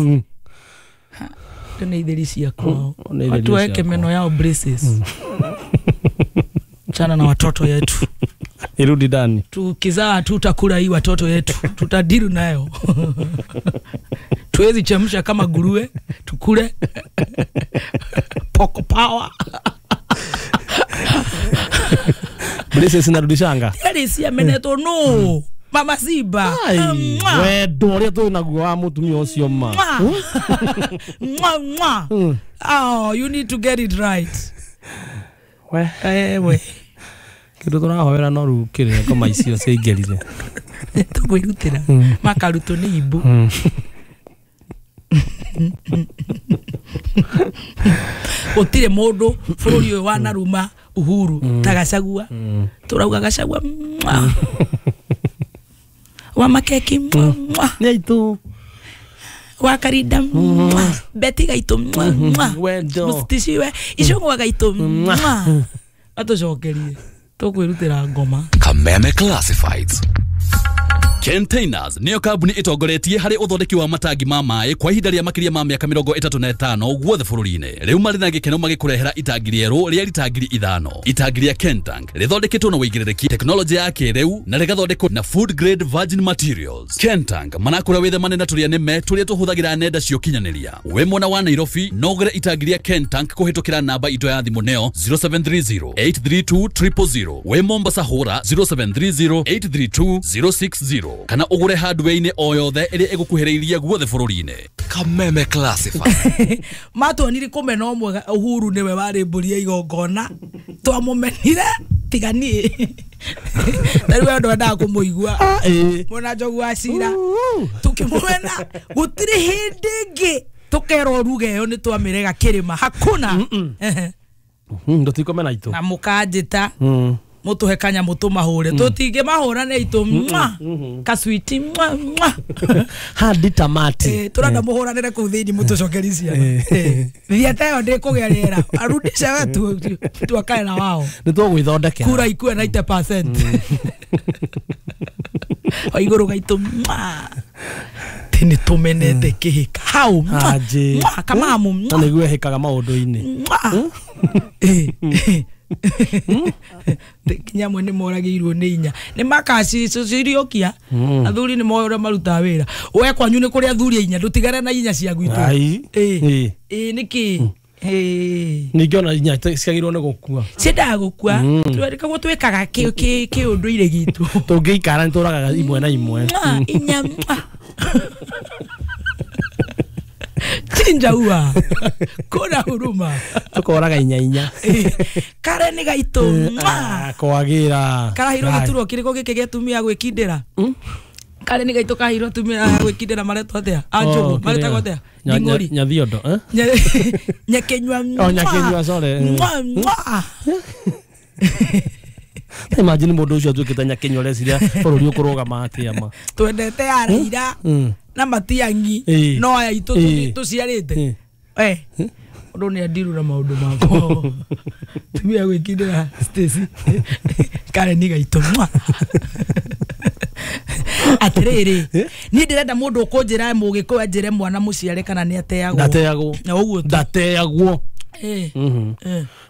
[SPEAKER 1] Nĩ itheri ciakwa. Watu waeke meno yao braces. Chana na watoto yetu.
[SPEAKER 2] Irudi ndani.
[SPEAKER 1] Tukizaa tutakula hii watoto yetu. Tutadiru nayo. Tuwezi chemsha kama nguruwe tukule. Poko power.
[SPEAKER 2] Braces inarudishanga.
[SPEAKER 1] Yale si ameneto no. Mama Simba.
[SPEAKER 2] Wendo ũrĩa twĩ naguo wa mũtumia ũcio ma.
[SPEAKER 1] Mwa mwa. Oh, you need to get it right.
[SPEAKER 2] We.
[SPEAKER 1] We.
[SPEAKER 2] Kĩndũ tũrahoera no rĩu kĩrĩa ngoma icio ciaingĩrire.
[SPEAKER 1] Tũkwĩrutĩra. Makarutwo nĩ imbu. Gũtirĩ mũndũ bũrũri ũyũ wanaruma Uhuru ta Gachagua. Tũrauga Gachagua mwa. Wa makeki mwa.
[SPEAKER 2] Nĩ aitũ.
[SPEAKER 1] Wa Karinda mwa. Beti gaitũ mwa.
[SPEAKER 2] Wendo.
[SPEAKER 1] Mũciticiwe icũng'wa gaitũ mwa. Atũcokerie tũkwĩrutĩra ngoma.
[SPEAKER 17] Kameme Classifieds. Containers niyo kambuni itongoretie harĩ ũthondeki wa matangi ma maĩ kwa ihinda rĩa makĩria ma mĩaka 35 guothe bũrũri-inĩ. Rĩu marĩ na gĩkeno magĩkũrehera itangi rĩerũ rĩa rita 5,000. Itangi rĩa Kentank rĩthondeketwo na ũigĩrĩrĩki, tekinoronjĩ ya kĩrĩu na rĩgathondekwo na food grade virgin materials. Kentank manakũra wĩthemane na tũrĩa nĩme tũrĩa tũhũthagĩra nenda cia ũkinyanĩria. Wĩ mwena wa Nairobi no ũgũre itangi rĩa Kentank kũhĩtũkĩra namba itũ ya thimũ nĩyo 0730 832 000. Wĩ Mombasa hũra 0730 832 060 kana ũgũre hardware-inĩ o yothe ĩrĩa ĩgũkuhĩrĩirie guothe bũrũri-inĩ. Kameme Classified.
[SPEAKER 1] Matuonire kũmena ũmwe Uhuru nĩwe warĩ mbũri ya igongona twamũmenire tiga niĩ ta rĩu andũ endaga kũmũigua mwena Njogu wa Cira tũkĩmũmena gũtirĩ hĩndĩ ĩngĩ tũkerwo ruga ĩyo nĩ twamĩrega kĩrĩma hakuna.
[SPEAKER 2] Ndũtikomena itũ
[SPEAKER 1] na mũkanjĩta mutuhe kanya mutumahure tutinge mahura ne itu mwa kaswiti mwa mwa
[SPEAKER 2] hadi tamati
[SPEAKER 1] turenda muhuranire kuu thiini mutucokeri ciana thieta yo ndikugia riera arudisha we tuakae na wao
[SPEAKER 2] ni tugwithondekera
[SPEAKER 1] kura ikue 90% o iguru gaitu mwa tini tumenete kihika hau mwa kamamu
[SPEAKER 2] na niguo hikaga maundu-ini
[SPEAKER 1] kinya mwe nĩ moragĩirwo nĩ inya nĩ makaciciriokia athuri nĩ moĩ ũrĩa marutaga wĩra we kwanyu nĩ kũrĩ athuri a inya ndũtigane na inya cia gwitũ ĩ nĩkĩ
[SPEAKER 2] ningĩ ona inya ciagĩrĩirwo nĩ gũkua
[SPEAKER 1] ciendaga gũkua koguo twĩkaga kĩũndũire gitũ
[SPEAKER 2] tũngĩikara nĩ tũragaga imwe na imwe
[SPEAKER 1] inya chinja ua kuna huruma
[SPEAKER 2] tukoraga inya inya
[SPEAKER 1] kare ni gaitu
[SPEAKER 2] kwagira
[SPEAKER 1] karahirwo giturwo kiriko giki gĩtumia gwikindira kare ni gaitu kahirwo tumia gwikindira maretwo atia anjugu maretagwo atia nding'ori
[SPEAKER 2] nyathiondo eh
[SPEAKER 1] nyakenywa
[SPEAKER 2] oh nyakenywa sorry imagine mundu ucio atuikite nyakenywa reciria bururi ukurugama atia ma
[SPEAKER 1] twendete araira na matiangi no aya itu tuciarite eh undu ni andirura maundu makwa tumia gwikindira Stacy kare ni gaitu atiriri ni ndirenda mundu ukunjira mugikuyu anjire mwana muciare kana ni ateagwo
[SPEAKER 2] ndateagwo
[SPEAKER 1] na uguo
[SPEAKER 2] ndateagwo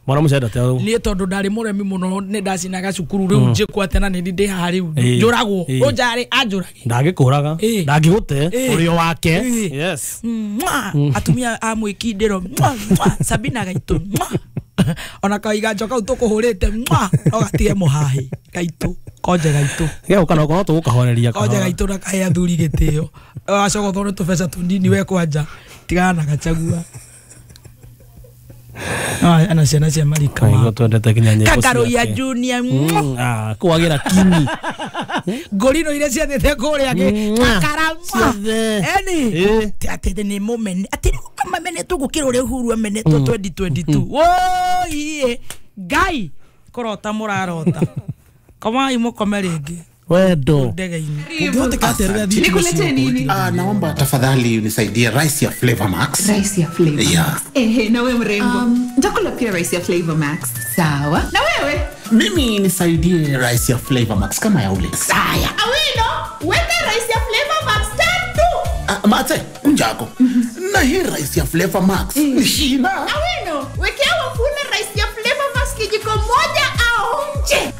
[SPEAKER 2] mwana muciare ndateagwo
[SPEAKER 1] ni tondu ndari muremi muno ni ndacinaga cukuru riu njikwo atena ni ndi haha riu njuragwo unjari anjurage
[SPEAKER 2] ndangikuraga ndangigute urio wake yes
[SPEAKER 1] atumia a mwikindiro Sabina gaitu ona kaiga njoka kau tukuhurite no gatige muhahi gaitu konje gaitu
[SPEAKER 2] geuka no korwo tugukahoreria
[SPEAKER 1] konje gaitu na kahe athuri gitio wacogothwo ni tubeca tunini we kwanja tigana na Gachagua ana ciana cia marika
[SPEAKER 2] ma twendete kinya nyimbo
[SPEAKER 1] Kakaro ya Junior
[SPEAKER 2] kwagira kini
[SPEAKER 1] ngorino iria ciathite kuria kakara eni ati ni mumene ati mamenetwo gukira uria Uhuru amenetwo 2022 woi Ngai kurota murarota komai mukome ringi
[SPEAKER 2] wendo
[SPEAKER 18] Nikulete nini? Naomba tafadhali unisaidie rice ya Flavor Max.
[SPEAKER 19] Rice ya Flavor Max.
[SPEAKER 18] Yeah.
[SPEAKER 19] Ehe, na wewe mrembo. Nitakula pia rice ya Flavor Max. Sawa. Na wewe?
[SPEAKER 18] Mimi nisaidie rice ya Flavor Max kama ya ule.
[SPEAKER 19] Saya. Awino, weka rice ya Flavor Max tatu.
[SPEAKER 18] Mate, unjako. Na hii rice ya Flavor Max ni shina.
[SPEAKER 19] Awino, wekea wafuna rice ya Flavor Max kijiko moja aonje.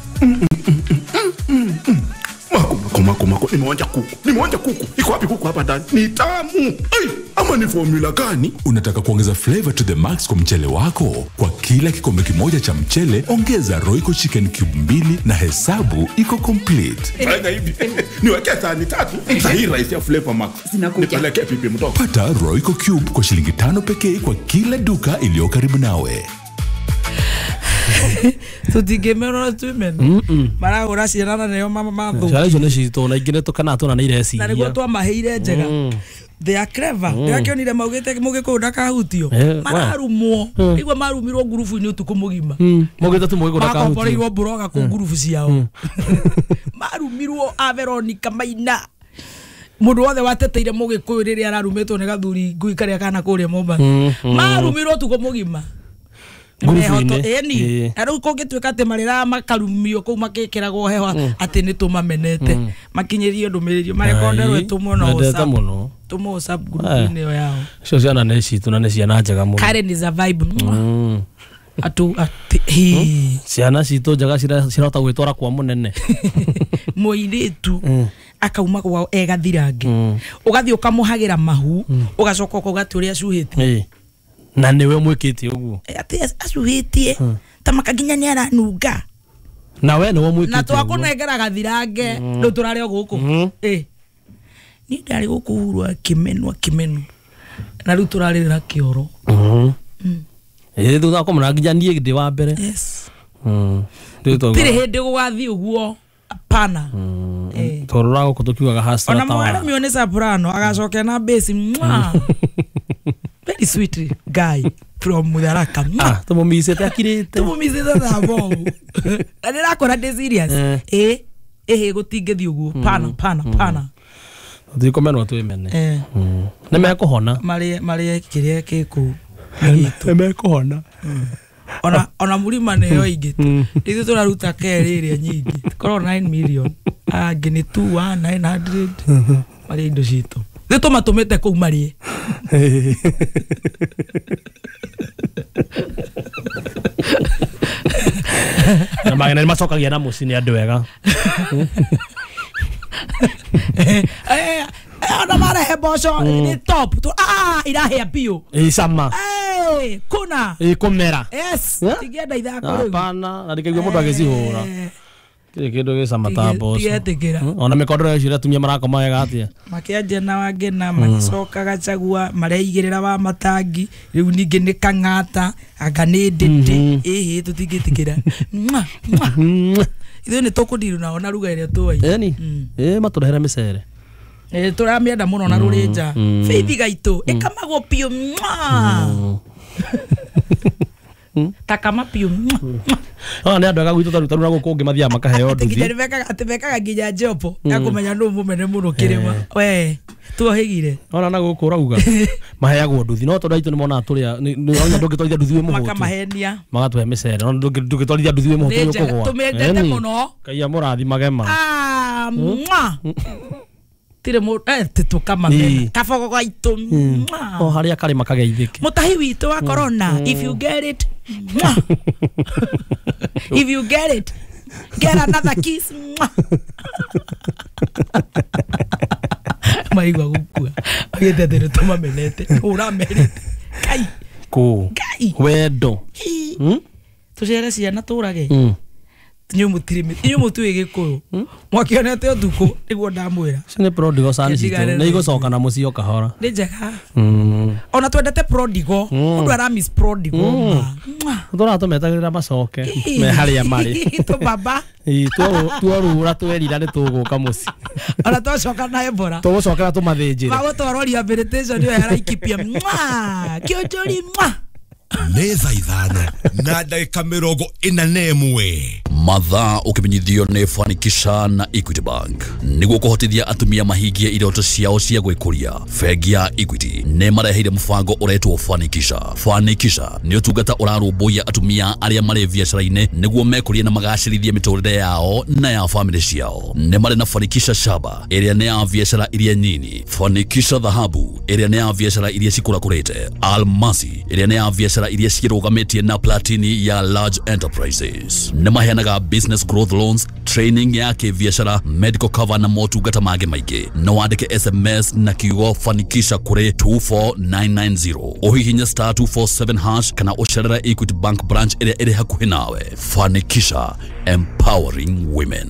[SPEAKER 3] Mako, nimeonja kuku. Iko wapi kuku hapa ndani? Ni tamu. Ai, ama ni formula gani?
[SPEAKER 20] Unataka kuongeza flavor to the max kwa mchele wako? Kwa kila kikombe kimoja cha mchele, ongeza Royco Chicken Cube 2 na hesabu iko complete.
[SPEAKER 3] Fanya hivi. Niweke sahani 3. Hii rice ya Flavor Max. Nipeleke pipi mtoto.
[SPEAKER 20] Pata Royco Cube kwa shilingi 5 pekee kwa kila duka iliyo karibu nawe.
[SPEAKER 1] Tutingemerwo twimene maragura ciana na nĩo mathu
[SPEAKER 2] ciana icio nĩ citũ na ingĩ nĩ tũkana tũna nĩ ireciria
[SPEAKER 1] na nĩguo twamaheire njega they are clever ndĩrakĩonire maugĩte mũgĩkũyũ ndakahutio mararumwo igua marumirwo ngurubu-inĩ ũtukũ mũgima
[SPEAKER 2] maugĩte tu mũgĩkũyũ ndakahutio
[SPEAKER 1] makomboreirwo mburoga kũ ngurubu ciao marumirwo a Veronica Maina mundu wothe wateteire mũgĩkũyũ rĩrĩa ararumĩtwo nĩ gathuri ngui karĩa kana kũrĩa Mombasa marumirwo ũtukũ mũgima
[SPEAKER 2] Ngurubu-inĩ.
[SPEAKER 1] Ĩni na rĩu kũngĩtuĩka atĩ marĩraga makarumio kũu makĩkĩragwo heho atĩ nĩ tũmamenete makinyĩrio ndũmĩrĩri marekonderwo ĩtũmwo na
[SPEAKER 2] Mendete
[SPEAKER 1] WhatsApp
[SPEAKER 2] mũno.
[SPEAKER 1] tũmwo WhatsApp group-inĩ ĩyo yao.
[SPEAKER 2] Icio ciana nĩ citũ na nĩ ciana njega mũno.
[SPEAKER 1] Karen is a vibe. Atu ati hi
[SPEAKER 2] Ciana citũ njega cirahota gwĩtwara kwa mũnene.
[SPEAKER 1] Mũirĩtu akauma kwao egathirange ũgathiĩ ũkamũhagĩra mahu ũgacoka ũkauga atĩ ũrĩa acuhĩtie.
[SPEAKER 2] Na nĩwe mwĩkĩte ũguo.
[SPEAKER 1] Atĩ acuhĩtie ta maka nginya nĩ aranunga.
[SPEAKER 2] Na we nĩwe mwĩkĩte.
[SPEAKER 1] Na twakũnengera gathirange rĩu tũrarĩ o gũkũ. Niĩ ndarĩ gũkũ Uhuru akĩmenwo akĩmenwo na rĩu tũrarĩrĩra kĩoro.
[SPEAKER 2] Thutha wa nginya niĩ ndĩ wa mbere.
[SPEAKER 1] Yes. Tirĩ hĩndĩ gũgathiĩ ũguo hapana.
[SPEAKER 2] Tũrora gũkũ tũkiugaga hasra
[SPEAKER 1] ona mwaremio nĩ soprano agacokia na bass. Very sweet guy from Mutharaka.
[SPEAKER 2] Tũmũmicĩte akirĩte.
[SPEAKER 1] Tũmũmicĩte ta bomu. Na ndĩrakora ndĩ serious. Ĩhĩ gũtingĩthiĩ ũguo pana pana pana.
[SPEAKER 2] Tũtikũmenwo twĩmene. Nĩ mekũhona.
[SPEAKER 1] Marĩe kĩrĩa gĩ kũu.
[SPEAKER 2] Nĩ mekũhona.
[SPEAKER 1] Ona mũrima nĩyo ingĩ ithuĩ tũraruta kerĩ ĩrĩa nyingĩ korwo 9 million angĩ nĩ 2 1 900 marĩe indo citũ ithuĩ tũmatũmĩte kũu marĩe.
[SPEAKER 2] Na magena nĩ macokagia na mũciĩ nĩ andũ ega.
[SPEAKER 1] Ona marehe mboco nĩ top irahĩa biũ.
[SPEAKER 2] Ĩ cama.
[SPEAKER 1] Kuna
[SPEAKER 2] ĩkũmera.
[SPEAKER 1] Yes, tingĩenda ithako rĩu.
[SPEAKER 2] Hapana, na ndikaigua mũndũ agĩcihũra. Tirĩ kĩndũ gĩcama ta mboco.
[SPEAKER 1] Tigetĩkĩra.
[SPEAKER 2] Ona mĩkondoro icio atumia marakoma wega atĩa.
[SPEAKER 1] Makĩanjia na Wangena magĩcoka Gachagua mareigĩrĩra wa matangi rĩu ningĩ nĩ Kang'ata anga nĩ Ndĩndĩ ĩhĩ tũtingĩtĩkĩra. Ithuĩ nĩ tũkũndiru nao na ruga ĩrĩa tũĩ.
[SPEAKER 2] Ĩni. Matũrehere mĩcere.
[SPEAKER 1] Tũramĩenda mũno na rũrĩnja. Faith gaitũ ĩkamagwo biũ. Takama biũ.
[SPEAKER 2] Ona nĩ andũ ega gwitũ taru na gũkũ ũngĩ mathiaga makaheo nduthi.
[SPEAKER 1] Atĩ mekaga nginya njobo ya kũmenya nũ mũmene mũno kĩrĩma. We tuohĩgire.
[SPEAKER 2] Ona na gũkũ ũrauga maheagwo nduthi no tondũ aitũ nĩ monaga tũrĩa ona ndũngĩtwarithia nduthi wĩ mũhũtu.
[SPEAKER 1] Makamahenia.
[SPEAKER 2] Magatũhe mĩcere ona ndũngĩtwarithia nduthi wĩ mũhũtu nĩ ũkũgũa.
[SPEAKER 1] Tũmĩendete mũno.
[SPEAKER 2] Ngai amũrathimage ma.
[SPEAKER 1] Tirĩ tũkamamena kabogo gaitũ.
[SPEAKER 2] O harĩa karĩ makageithĩke.
[SPEAKER 1] Mũtahi witũ wa corona if you get it. If you get it get another kiss. Maigua gũkua agĩte atĩ nĩ tũmamenete ũramerĩte kai
[SPEAKER 2] kũ wendo
[SPEAKER 1] tũcere ciana tũrage inyuĩ mũtirĩ inyuĩ mũtiũĩ Gĩkũyũ mwakĩonete ũtukũ nĩguo ndamwĩra.
[SPEAKER 2] Icio nĩ prodigal son citũ nĩ igũcoka na mũciĩ o kahora.
[SPEAKER 1] Nĩ njega. Ona twendete prodigal mũndũ ara miss prodigal ma
[SPEAKER 2] tũratũmetagĩrĩra macoke me harĩa marĩ
[SPEAKER 1] tũbaba
[SPEAKER 2] tuorura twerira nĩ tũgũka mũciĩ.
[SPEAKER 1] Ona twacoka na Ebola
[SPEAKER 2] tũgũcokera tũmathĩnjĩre
[SPEAKER 1] magũtwarwo rehabilitation ĩyo ya Laikipia kĩonjori.
[SPEAKER 3] Nĩ thaa 5 na ndagĩka 41.
[SPEAKER 17] Mathaa ũkĩmenyithio nĩ Fanikisha na Equity Bank nĩguo kũhotithia atumia mahingie iroto ciao cia gwĩkũria. Bengi ya Equity nĩ mareheire mũbango ũretwo Fanikisha. Fanikisha nĩ ũtungata ũrarũmbũiya atumia arĩa marĩ biacara-inĩ nĩguo mekũrie na magacĩrithie mĩtũrĩre yao na ya famĩlĩ ciao. Nĩ marĩ na Fanikisha Shaba ĩrĩa nĩ ya biacara iria nyini, Fanikisha Dhahabu ĩrĩa nĩ ya biacara iria cikũrakũrĩte, Almasi ĩrĩa nĩ ya biacara iria cirũgamĩtie na Platini ya large enterprises. Nĩ maheanaga business growth loans, training ya kĩbiacara, medical cover na motungata mangĩ maingĩ. No wandĩke SMS na kiugo Fanikisha kũrĩ 24990 ũhihinye star 247 hash kana ũcerere Equity Bank branch ĩrĩa ĩrĩ hakuhĩ nawe. Fanikisha, empowering women.